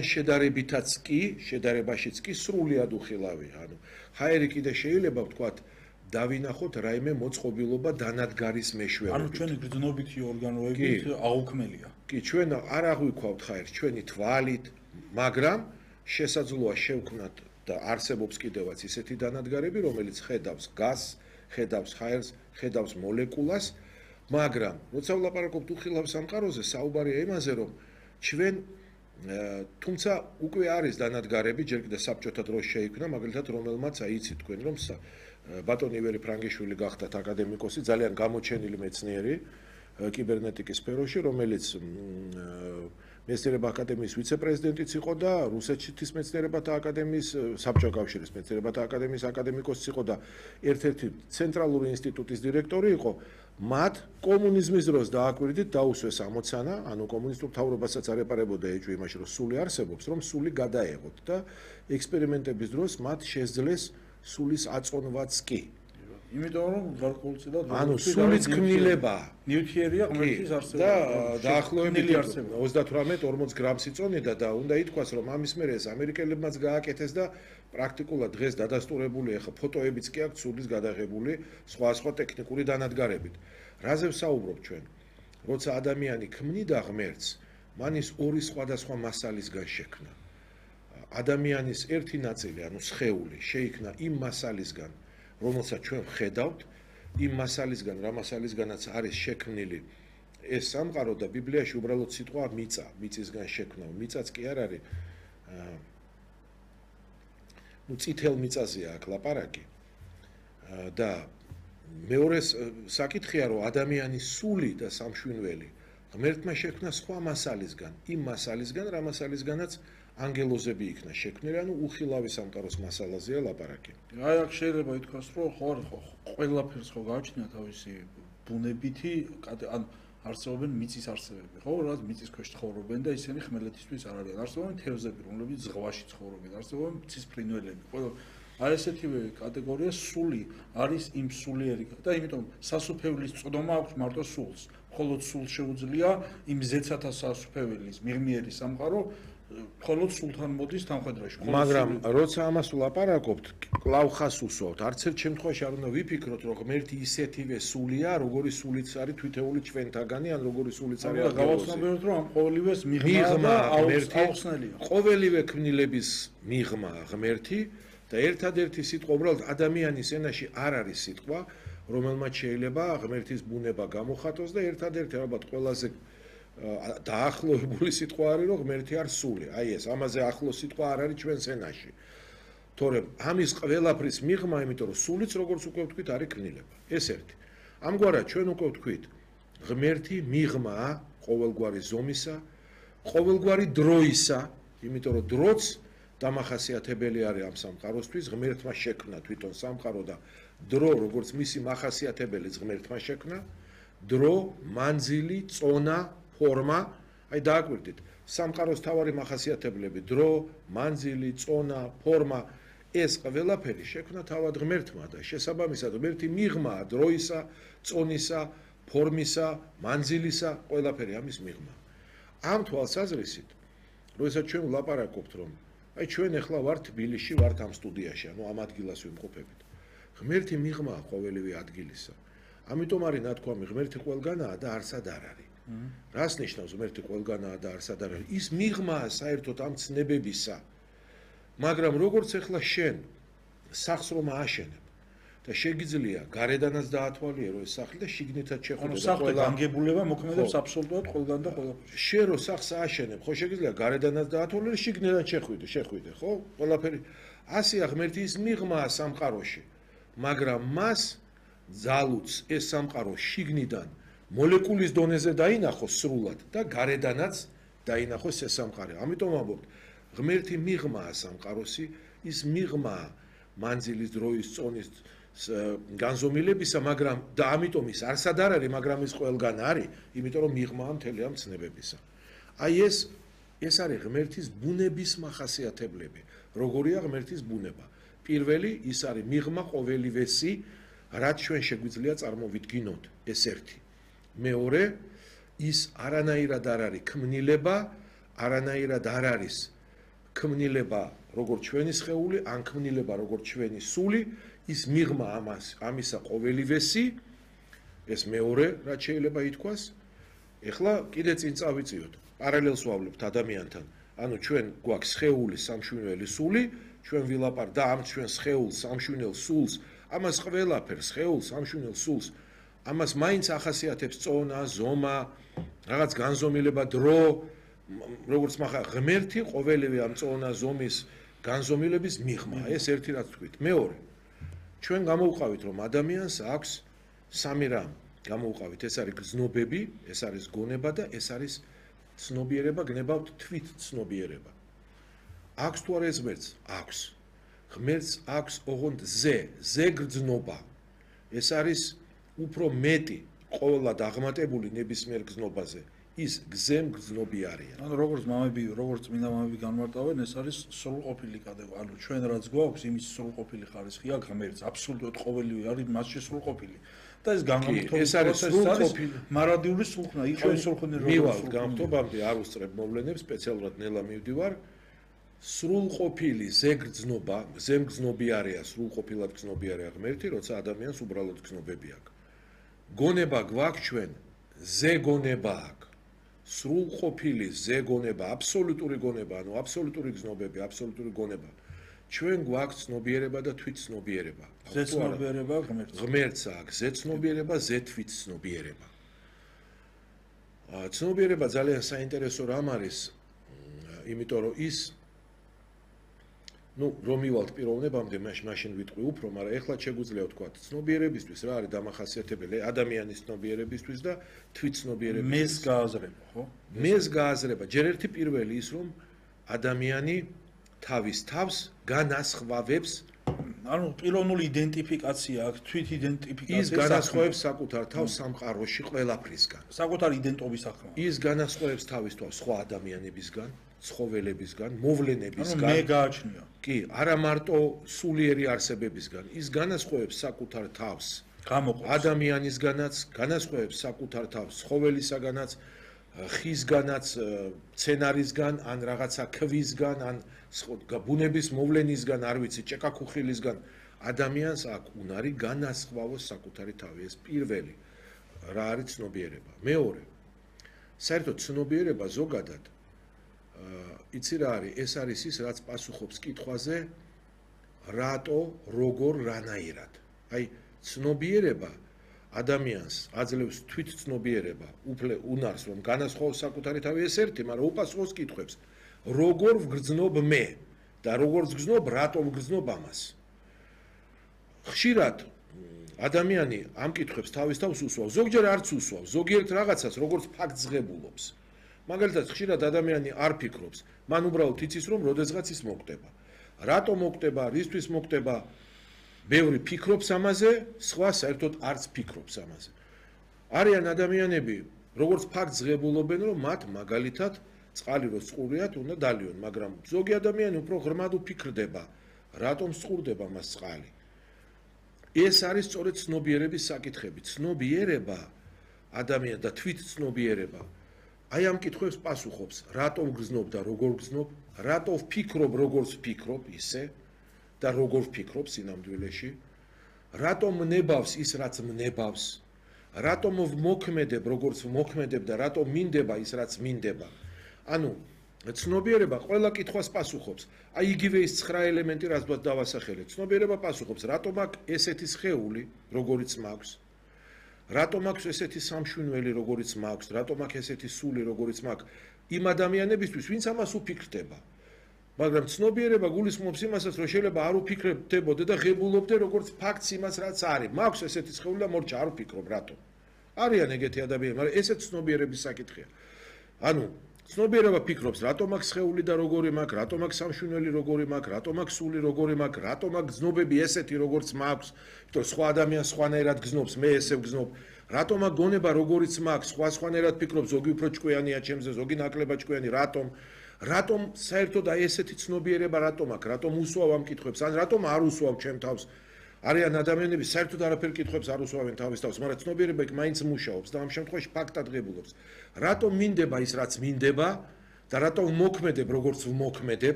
შედარებითაც კი, შედარებაშიც კი სრულიად უხილავია. ანუ ჰაერი კიდე შეიძლება ვთქვათ დავინახოთ რაიმე მოწყობილობა დანადგარის მეშვეობით. ანუ ჩვენი გრძნობითი ორგანოებით აუქმელია. კი, ჩვენ არ აღვიქვავთ ჰაერს ჩვენი თვალით, მაგრამ შესაძლოა შევქმნათ და არსებობს კიდევაც ისეთი დანადგარები, რომელიც ხედავს გაზს, ხედავს ჰაერს, ხედავს მოლეკულას, მაგრამ როცა ვლაპარაკობთ უხილავ სამყაროზე, საუბარია იმაზე, რომ ჩვენ თუმცა უკვე არის დანადგარები, ჯერ კიდევ საბჭოთა დროს შეიქმნა, მაგალითად, რომელმაც აიცით თქვენ, რომ ბატონი ივერი ფრანგიშვილი გახდათ აკადემიკოსი, ძალიან გამოჩენილი მეცნიერი კიბერნეტიკის სფეროში, რომელიც მეცნიერებათა აკადემიის ვიცე-პრეზიდენტიც იყო და რუსეთის მეცნიერებათა აკადემიის, საბჭოთა კავშირის მეცნიერებათა აკადემიის აკადემიკოსიც იყო და ერთ-ერთი ცენტრალური ინსტიტუტის დირექტორი იყო. მათ კომუნიზმის დროს დააკვირდით დაუსვეს ამოცანა, ანუ კომუნისტურ მთავრობასაც არ ეპარებოდა ეჭვი იმაში, რომ სული არსებობს, რომ სული გადაეღოთ და ექსპერიმენტების დროს მათ შესძლეს სულის აწონვაც კი. იმიტომ რომ გარკვეულწილად ანუ სულის ქმნილება ნიუთიერია ღმერთის არსება და დაახლოებით 38-40 გრამს იწონიდა და უნდა ითქვას, რომ ამის მერე ეს ამერიკელებმაც გააკეთეს და პრაქტიკულად დღეს დადასტურებული ახლა ფოტოებიც კი აქვს სულის გადაღებული სხვა ტექნიკური დანადგარებით. რაზე ვსაუბრობ ჩვენ? როცა ადამიანი ქმნიდა ღმერთს, მან ის ორი სხვადასხვა მასალისგან შექმნა. ადამიანის ერთი ნაწილი, ანუ სხეული, შეიქმნა იმ მასალისგან, რომელსაც ჩვენ ვხედავთ, იმ მასალისგან, რა მასალისგანაც არის შექმნილი ეს სამყარო და ბიბლიაში უბრალოდ სიტყვა მიწა, მიწისგან შექმნა. მიწაც კი არ არის წითელ მიწაზეა აქ ლაპარაკი. და მეორე საკითხია, რომ ადამიანის სული და სამშვინველი ღმერთმა შექმნა სხვა მასალისგან, იმ მასალისგან, რა მასალისგანაც ანგელოზები იქნა შექმნილი, ანუ უხილავი სამყაროს მასალაზეა ლაპარაკი. აი აქ შეიძლება ითქვას, რომ ყველაფერს ხო გააჩნია თავისი ბუნებითი, ან არსებობენ მიწის არსებები, ხო? რაც მიწის ქვეშ ცხოვრობენ და ისინი ხმელეთისთვის არ არიან. არსებობენ თევზები, რომლებიც ზღვაში ცხოვრობენ, არსებობენ მიწის ფრინველები. ყველა აი ესეთივე კატეგორია სული არის იმ სულიერი და იმიტომ სასუფეველის წოდება აქვს მარტო სულს. მხოლოდ სულს შეუძლია იმ ზეცათა სასუფეველის მიღმიერი სამყარო მხოლოდ სულთან მოდის თანხმედრაში. მაგრამ როცა ამას ვლაპარაკობთ, კлау ხას უსვავთ. არც ერთ შემთხვევაში არ უნდა ვიფიქროთ, რომ ღმერთი ისეთივე სულია, როგორი სულიც არის თვითეული ჩვენთაგანი, ან როგორი სულიც არის აღგავსი. გავაცნობიეროთ, რომ ამ ყოველივეს მიღმა აუხსნელია. ყოველივე ქმნილების მიღმა ღმერთი და ერთადერთი სიტყვა უბრალოდ ადამიანის ენაში არ არის სიტყვა, რომელმაც შეიძლება ღმერთის ბუნება გამოხატოს და ერთადერთი ალბათ ყველაზე დაახლოებული სიტყვა არის, რომ ღმერთი არ სული. აი ეს, ამაზე ახლო სიტყვა არ არის ჩვენს ენაში. თორემ ამის ყველაფრის მიღმა, იმიტომ რომ სულიც როგორც უკვე ვთქვით, არის ქმნილება. ეს ერთი. ამგვარად ჩვენ უკვე ვთქვით, ღმერთი მიღმაა ყოველგვარი ზომისა, ყოველგვარი დროისა, იმიტომ რომ დროც დამახასიათებელი არის ამ სამყაროსთვის, ღმერთმა შექმნა თვითონ სამყარო და დრო, როგორც მისი მახასიათებელი ღმერთმა შექმნა, დრო, მანძილი, წონა, ფორმა, აი დააკვირდით, სამყაროს თავარი მახასიათებლები, დრო, მანძილი, წონა, ფორმა, ეს ყველაფერი შექმნა თავად ღმერთმა და შესაბამისად ღმერთი მიღმაა დროისა, წონისა, ფორმისა, მანძილისა, ყველაფერი ამის მიღმა. ამ თვალსაზრისით, როდესაც ჩვენ ვლაპარაკობთ, რომ აი ჩვენ ახლა ვართ თბილისში, ვართ ამ სტუდიაში, ანუ ამ ადგილას ვიმყოფებით. ღმერთი მიღმაა ყოველივე ადგილისა. ამიტომ არის ნათქვამი, ღმერთი ყველგანაა და არსად არ არის. რას ნიშნავს ღმერთი ყველგანაა და არსად არ არის? ის მიღმაა საერთოდ ამ ცნებებისა. მაგრამ როგორც ახლა შენ სახს რომ ააშენებ და შეგიძლია გარედანაც დაათვალიერო ეს სახლი და შიგნითაც შეხვიდე და სახლი განგებულება მოქმედებს აბსოლუტურად ყველგან და ყველაფერში. შენ რო სახს ააშენებ, ხო შეგიძლია გარედანაც დაათვალიერო, შიგნითაც შეხვიდე, ხო? ყველაფერი ასეა ღმერთი ის მიღმაა სამყაროში. მაგრამ მას ძალუც ეს სამყარო შიგნიდან მოლეკულის დონეზე დაინახოს სრულად და გარედანაც დაინახოს ეს სამყარო. ამიტომ ამბობთ, ღმერთი მიღმაა სამყაროსი, ის მიღმაა მანძილის, დროის, წონის განზომილებისა, მაგრამ და ამიტომ ის არსად არ არის, მაგრამ ის ყველგან არის, იმიტომ რომ მიღმაა მთელი ამ ცნებებისა. აი ეს არის ღმერთის ბუნების მახასიათებლები. როგორია ღმერთის ბუნება? პირველი ის არის მიღმა ყოველივესი, რაც ჩვენ შეგვიძლია წარმოვიდგინოთ, ეს ერთი. მეორე, ის არანაირად არ არის ქმნილება, არანაირად არ არის ქმნილება როგორც ჩვენი სხეული, ან ქმნილება როგორც ჩვენი სული, ის მიღმა ამისა ყოველივესი, ეს მეორე რაც შეიძლება ითქვას. ეხლა კიდე წინ წავიწიოთ. პარალელს ვავლებთ ადამიანთან. ანუ ჩვენ გვაქვს სხეული, სამშვენელი სული, ჩვენ ვილაპარაკთ და ამ ჩვენ სხეულს, სამშვენელ სულს, ამას ყველაფერს, სხეულს, სამშვენელ სულს, ამას მაინც ახასიათებს წონა, ზომა, რაღაც განზომილება, დრო, როგორც მაგა ღმერთი ყოველივე ამ წონა, ზომის, განზომილების მიღმა. ეს ერთი რაც თქვით. მეორე, ჩვენ გამოვყავით, რომ ადამიანს აქვს სამი რამ. გამოვყავით, ეს არის გზნობები, ეს არის გონება და ეს არის ცნობიერება, გნებავთ თვით ცნობიერება. აქვს თუ არა ეს ღმერთს? აქვს. ღმერთს აქვს ოღონდ ზე გრძნობა. ეს არის უფრო მეტი ყოველად აღმატებული ნებისმიერ გზნობაზე. ის გზემ გზნობი არიან. ანუ როგორც მამები, როგორც წმინდა მამები განმარტავენ, ეს არის სრულყოფილი კატეგორია. ანუ ჩვენ რაც გვაქვს, იმის სრულყოფილი ხარისხი აქვს ღმერთს, აბსოლუტურად ყოველივე არის მასში სრულყოფილი. და ეს განმარტოვა ეს არის სრულყოფილი მარადიული სულხნა, იყავი სულხნი როგორ მივალ გამთობამდე არ უსწრებ მოვლენებს, სპეციალურად ნელა მივდივარ. სრულყოფილი ზეგრძნობა, ზემგრძნობი არია, სრულყოფილად გრძნობი არია ღმერთი, როცა ადამიანს უბრალოდ გრძნობები აქვს. გონება გვაქვს ჩვენ, ზეგონება აქვს. სრულყოფილი ზეგონება, აბსოლუტური გონება, ანუ აბსოლუტური გრძნობები, აბსოლუტური გონება. ჩვენ გვაქვს ცნობიერება და თვითცნობიერება. ზეცნობიერება ღმერთს. ღმერთს აქვს ზეცნობიერება, ზეთვითცნობიერება. ცნობიერება ძალიან საინტერესო რამ არის, იმიტომ რომ ის რომ მივალთ პიროვნებამდე, მაშინ ვიტყვი უფრო, მაგრამ ეხლა შეგვიძლია ვთქვა, ცნობიერებისთვის რა არის დამახასიათებელი ადამიანის ცნობიერებისთვის და თვითცნობიერებისთვის. მეს გააზრება, ხო? მეს გააზრება. ჯერ ერთი პირველი ის, რომ ადამიანი თავის თავს განასხვავებს, ანუ პიროვნული იდენტიფიკაცია აქვს, თვით იდენტიფიკაცია. ის განასხვავებს საკუთარ თავს სამყაროში ყველაფრისგან. საკუთარი იდენტობის ახმა. ის განასხვავებს თავის თავს სხვა ადამიანებისგან, ცხოველებისგან, მოვლენებისგან. ანუ მე გააჩნია. კი, არა მარტო სულიერი არსებებისგან, ის განასხვავებს საკუთარ თავს ადამიანისგანაც, განასხვავებს საკუთარ თავს ცხოველისაგანაც, ხისგანაც, მცენარისგან, ან რაღაცა ქვისგან, ან ბუნების მოვლენისგან, არ ვიცი, ჭეკაქუხილისგან. ადამიანს აქვს უნარი განასხვავოს საკუთარი თავი. ეს პირველი რა არის ცნობიერება. მეორე, საერთოდ ცნობიერება ზოგადად იცი რა არის, ეს არის ის, რაც პასუხობს კითხვაზე, რატო, როგორ, რანაირად. აი, ცნობიერება ადამიანს აძლევს თვითცნობიერება, უნარს, რომ განასხვავოს საკუთარი თავი, ეს ერთი, მაგრამ უპასუხოს კითხვებს. როგორ ვგრძნობ მე და როგორ ვგრძნობ, რატომ ვგრძნობ ამას. ხშირად ადამიანი ამ კითხვებს თავის თავს უსვავს, ზოგჯერ არც უსვავს, ზოგიერთ რაღაცას, როგორც ფაქტს ღებულობს. მაგალითად, ხშირად ადამიანი არ ფიქრობს, მან უბრალოდ იცის, რომ როდესღაც ის მოკვდება. რატო მოკვდება, რისთვის მოკვდება, ბევრი ფიქრობს ამაზე, სხვა საერთოდ არც ფიქრობს ამაზე. არიან ადამიანები, როგორც ფაქტს ღებულობენ, რომ მათ მაგალითად წყალი რო წყურიათ, უნდა დალიონ, მაგრამ ზოგი ადამიანი უფრო ღრმად უფიქრდება, რატომ წყურდება მას წყალი. ეს არის სწორედ ცნობიერების საკითხები. ცნობიერება ადამიანს და თვითცნობიერება აი ამ კითხვებს პასუხობს, რატომ გრძნობ და როგორ გრძნობ, რატო ვფიქრობ, როგორც ვფიქრობ, ისე და როგორ ვფიქრობ სინამდვილეში, რატომ მნებავს ის, რაც მნებავს, რატომ ვმოქმედებ, როგორც ვმოქმედებ და რატომ მინდება ის, რაც მინდება. ანუ ცნობიერება ყველა კითხვას პასუხობს. აი იგივე ის 9 ელემენტი, რაც დავასახელეთ. ცნობიერება პასუხობს, რატომ აქვს ესეთი სხეული, როგორიც მაქვს. რატომ აქვს ესეთი სამშვენელი, როგორიც მაქვს, რატომ აქვს ესეთი სული, როგორიც მაქვს, იმ ადამიანებისთვის, ვინც ამას უფიქრდება. მაგრამ ცნობიერება გულისხმობს იმასაც, რომ შეიძლება არ უფიქრებდებოდე და ღებულობდე როგორც ფაქტს იმას, რაც არის. მაქვს ესეთი სხეული და მორჩა არ უფიქრობ, რატომ? არიან ეგეთი ადამიანები, მაგრამ ესეც ცნობიერების საკითხია. ანუ ცნობიერება ფიქრობს, რატომ აქვს სხეული და როგორი მაქვს, რატომ აქვს სამშვენელი როგორი მაქვს, რატომ აქვს სული როგორი მაქვს, რატომ აქვს გზნობები ესეთი როგორც მაქვს, იმიტომ სხვა ადამიანს სხვანაირად გზნობს, მე ესე ვგზნობ. რატომ აქვს გონება როგორიც მაქვს, სხვანაირად ფიქრობს, ზოგი უფრო ჭკვიანია ჩემზე, ზოგი ნაკლებად ჭკვიანი, რატომ საერთოდ აი ესეთი ცნობიერება რატომ აქვს, რატომ უსვავ ამ კითხვებს, ან რატომ არ უსვავ ჩემ თავს. არიან ადამიანები საერთოდ არაფერ კითხვებს არ უსვავენ თავის თავს, მაგრამ ცნობიერება იქ მაინც მუშაობს და ამ შემთხვევაში ფაქტად ღებულობს. რატომ მინდება ის, რაც მინდება და რატომ ვმოქმედებ, როგორც ვმოქმედებ,